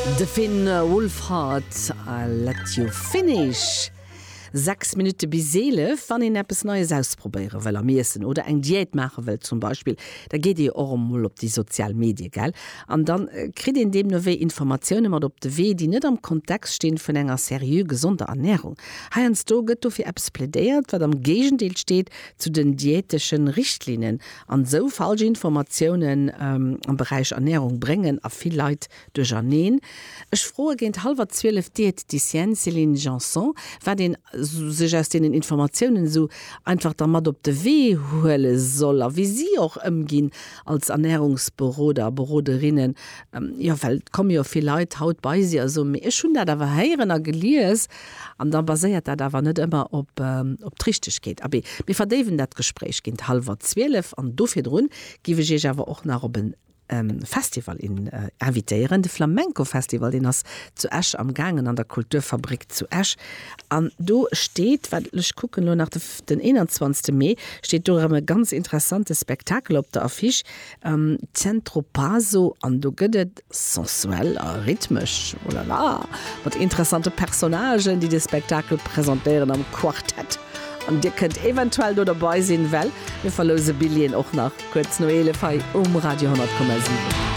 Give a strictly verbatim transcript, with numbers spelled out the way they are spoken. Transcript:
De Finn Wolfhard, I'll Let You Finish. Sechs Minutte bis eelef. Wann een eppes Neies ausprobéiere wëll am Iessen oder eng Diät maache wëll zum Beispill, da geet ee och emol op déi sozial Medie, gell? An dann kritt een deemno wéi Informatioune mat op de Wee, déi net am Kontext stinn vun enger seriö gesonder Ernärung. Heiansdo gëtt dofir eppes plädéiert, wat am Géigendeel steet zu den diäteschen Richtlinnen. An esou falsch Informatiounen am Beräich Ernärung bréngen a vill Leit duercherneen. Ech froe géint hallwer zwielef d'Diététicienne Céline Janson, wat een sech aus deenen Informatiounen esou einfach da mat op de Wee huele soll a wéi si och ëmginn als Ernärungsberoder a beroderinnen. Jo, well et komme jo vill Leit haut bei si a soen, mee ech hunn dat awer héieren a gelies an da baséiert dat awer net ëmmer op op d'Richtegkeet. Abee, mir verdéiwen dat Gespréich géint hallwer zwielef an do virdrun giff ech Iech awer och nach op en Festival invitéieren. De Flamenco Festival, deen ass zu Esch am gaangen an der Kulturfabrik zu Esch. An do steet, wat ech kucken elo nach, den eenanzwanzegste Mee steet do erëm e ganz interessante Spektakel op der Affiche, Centro Paso. An do gëtt et sensuell a rhythmesch, oh la la, mat interessante Personnagen, déi de Spektakel presentéieren am Quartett. An dir kënnt eventuell do derbei sinn, well mir verlouse Billjeeën och nach kuerz no eelef hei um Radio honnert Komma siwen.